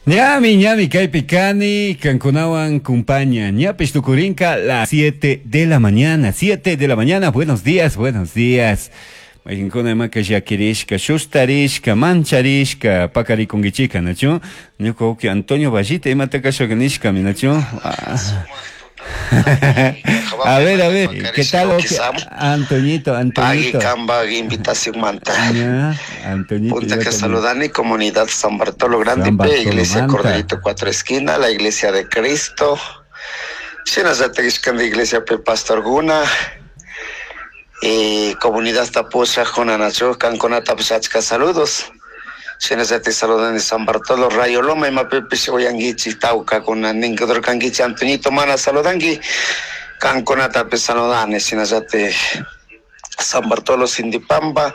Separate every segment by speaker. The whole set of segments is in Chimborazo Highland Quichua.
Speaker 1: Ñami, ñami, kaypi kani, kankunawan kumpaña. Ñapish tukurinka las 7 de la mañana, 7 de la mañana. Buenos días, buenos días. Mayqinkuna imaka llakirishka, shustarishka, mancharishka, pakarikunkichika, nachu? Ñuka wawki Antonio Vallita imata kashaka nishkami, nachu? Ah. A ver, a ver, ¿qué tal, wawki Antoñito, Antoñito?
Speaker 2: Pagui kambaj invitación manta.
Speaker 1: Ya, Antoñito.
Speaker 2: Punta que
Speaker 1: yo también.
Speaker 2: saludani comunidad San Bartolo Grande
Speaker 1: San
Speaker 2: P,
Speaker 1: Bartolo
Speaker 2: Iglesia
Speaker 1: Manta.
Speaker 2: Corderito Cuatro Esquina, la Iglesia de Cristo. Shinallatak de Iglesia P Pastor Guna. Y comunidad Tapucha, Junanachu, Cancona Tapachka, saludos. Shinallatak saludani San Bartolo, Rayo Loma, Imapipish, Oyanguichi, Tauca, Kunaningador Kanguichi, Antoñito Mana, saludangi. Cancona Tapis saludani, shinallatak San Bartolo Sindipamba,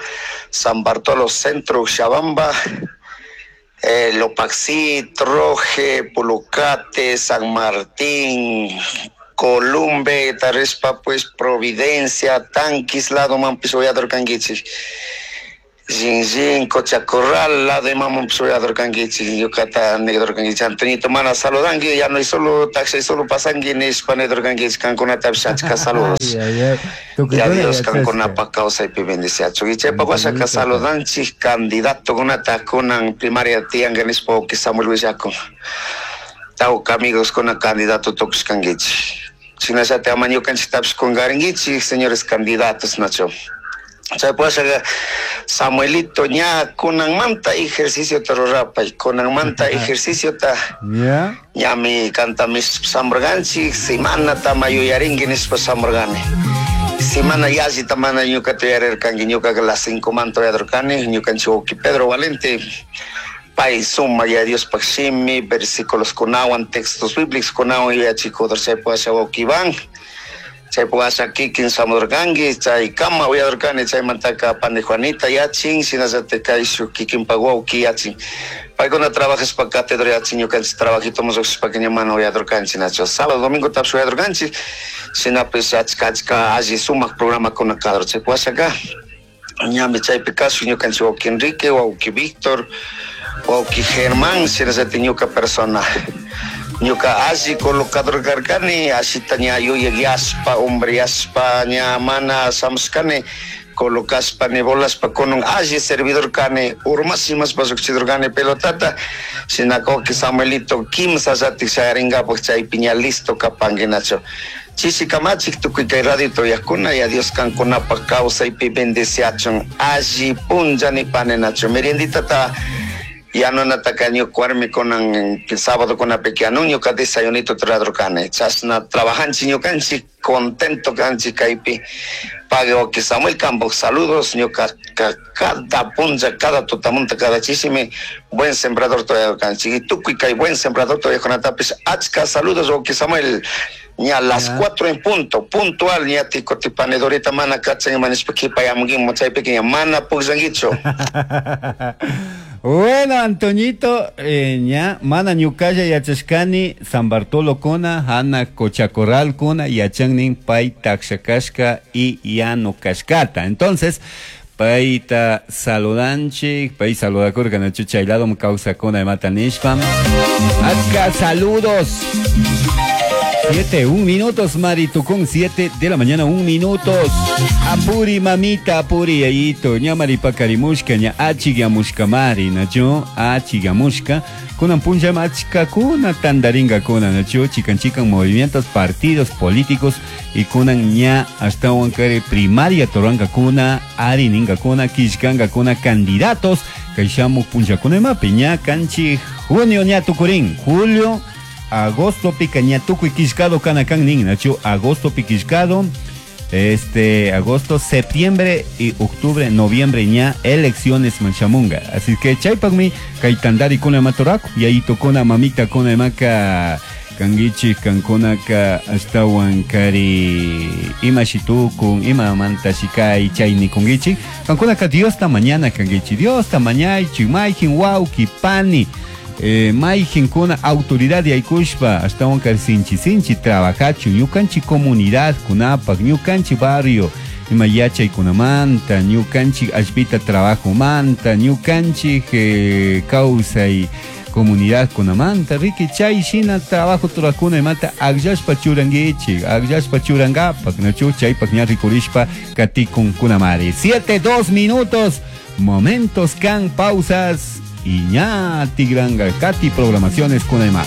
Speaker 2: San Bartolo Centro Xabamba, Lopaxí, Troje, Pulucate, San Martín, Columbe, Tarispa, pues Providencia, Tanquis, lado Mampis, Oyador Canguichi. Jinjin, Cochacorral, lado de Mamón, Oyador Canguichi, Yucatán, Negro Canguichi, Antonito Mana, saludangui, ya no hay solo taxi, solo pasangui, ni Hispanedor Canguichi, Cancuna, Tapsachka, saludos.
Speaker 1: Ay, ay, ay.
Speaker 2: Ya
Speaker 1: Tukukuna
Speaker 2: Dios
Speaker 1: yachashka.
Speaker 2: kankunapa kawsaypi bendiciachu. Ichaypa wasaka
Speaker 1: Antoñito.
Speaker 2: saludanchik candidato kunata kunan primaria tiyanka nishpa wawqi Samuel willakun. Tawka amigos kuna candidato tukushkankichik. Shinallatak ama ñukanchiktapish kunkarinkichik, señores candidatos, nacho. Chaypa wasaka Samuelito ña kunanmanta ejerciciota rurapay, kunanmanta ejerciciota
Speaker 1: Ya.
Speaker 2: ñami kantami samurganchik, semanata mayuyarinki nishpa samurgani. Semana yallita mana ñuka tuyarirkanki, ñukaka las 5 manta uyadurkani, ñukanchik wawqi Pedro Valente, pay suma ya Diospaj shimi, versículos kunawan, textos bíblicos kunawan yuyachikudor, chaypa washa wawqi Iván, chaypa washa kikin samurkanki, chay kama uyadurkani, chaymantaka pani Juanita yachin, shinallatak kayshuk kikinpak wawqi yachin. Paykuna trabajashpa cátedra yachin, ñukanchik trabajito musushpaka ña mana uyadurkanchik, nacho. Sábado, domingo tapish uyadurkanchik, shinapish achka achka alli sumak programakuna kador, chaypa washaka ñami chaypi kashun ñukanchik wawqi Enrique, wawqi Víctor, wawqi Germán, shinallatak ñuka persona. Ñuka alli colocador karkani, ashita ña yuyak yashpa, hombre yashpa, ña mana shamushkani, colocashpa, ni volashpa, kunun alli servidor kani, urmash imashpa llukchidor kani pelotata, shinaka wawqi Samuelito kimsa llatik shayarinkapak chaypi ña listo kapanki, nacho. Chishi kamachik tukuy kay radio tuyakuna, ya Dios kankunapak kawsaypi bendiciachun, alli punlla nipani, nacho. Merienditata yanunataka ñuka warmi kunan sábado kunapi anun ñuka desayunito ruradurkani. Chashna trabajanchik ñukanchik, contento kanchik kaypi. Pague wawqi Samuel Campos, saludos, ñuka cada punlla, cada tutamunta, cada chishimi, buen sembrador todavía kanchik. Y tukuy kay buen sembrador todavía kunatapish, achka saludos wawqi Samuel. Ña las 4 en punto, puntual, ña tico tipanedorita mana kachan imanishpa kipayamunkimu chaypi ña mana pukllankichu.
Speaker 1: Bueno, Antoñito, ña mana ñukalla yachashkani San Bartolo kuna, Hana Cochacorral kuna, yachannin pay takshakashka y yano kashkata. Entonces, payta saludanchik, pay saludakurka nachu chay lado kawsakuna imata nishpa. Acá saludos. 7, 1 minutos, Mari Tucún, 7 de la mañana, 1 minutos. Apuri, mamita, apuri, yayito, ña maripakarimushka, ña achigamushka, mari, nacho, achigamushka. Kunan punlla achka kuna tandaringa kuna, nacho, chican chican movimientos, partidos políticos, y kunan ña hasta huancare primaria toranca kuna, ari ninga kuna, kishkanga kuna, candidatos, kaishamu punlla kuna mapi, ña canchi, junio ña tucurín, julio, agosto pica ña tukuy kishkado kanakan nin, nacho, agosto piquishkado, agosto, septiembre y octubre, noviembre ña elecciones manchamunga. Así que chaypakmi kay tandari kuna matoraku, y ahí tocona mamita kuna maka kangichi kankunaka ashtawan kari ima shitukun, ima manta shikai chay nikungichi. Kankunaka Diosta mañana kangichi, Diosta mañaychi, mayjin wauki pani. Mayjinkuna autoridad yaykushpa ashtawan kari sinchi sinchi trabajachu ñukanchi comunidad kunapak ñukanchi barrio ima yachaykunamanta ñukanchi allpita trabajomanta ñukanchik kawsay Comunidad kunamanta riki chay shina trabajo turakuna imata akllashpa churanguichik akllashpa churangapak nachu chaypak ña rikurishpa katikun kunamari. 7 2 minutos momentos kan pausas y ña tigranga kati programaciones kunayma.